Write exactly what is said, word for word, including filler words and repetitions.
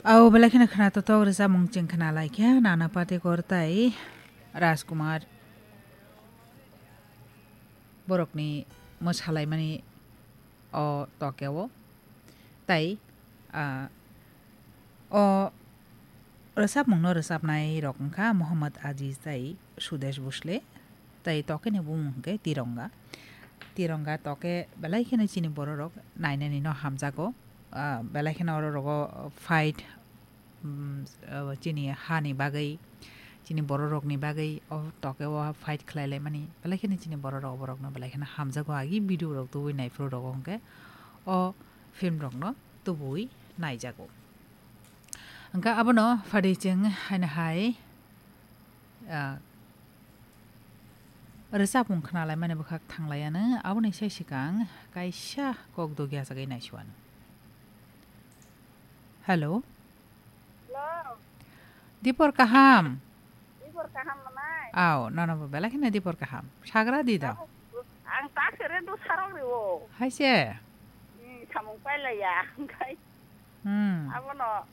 Au belai kheno khna totok rwchapmung chwng khna lai khe, Nana Patekar tai Rajkumar borokni mwsalaimani o tokeo. Tai, ah, o rwchapmungno rwchapnai rok wngkha Mohammad Aziz tai Sudesh Bhosle. Tai tokeni bumung hwnkhe Tironga. Tironga toke belai kheno chini bororok nainani no hamjago. Ah, belai kheno oro rogo fight, mm, ah, chini hani bagwi, chini bororokni bagwi o tokeo fight khlai laimani. Belai kheno chini bororok borokno belai kheno hamjago, agi video rok tubui naiphuru rogo hwnkhe o film rokno tubui naijago. Hwnkhe abono phadi chwng haino hai, ah, rwchapmung khna laimani bwkhak thang laiano, aboni sai swkang kaisa kok dogi achagwi naisuano. Hello? Hello? Dipor kaham? Dipor kaham manai? Au, nono bo belai kheno dipor kaham. Sagra di do? Ang ta khere do sarok reo. Hai se? Hmm, samung pailaiya, hwnkhe. Hmm. Abono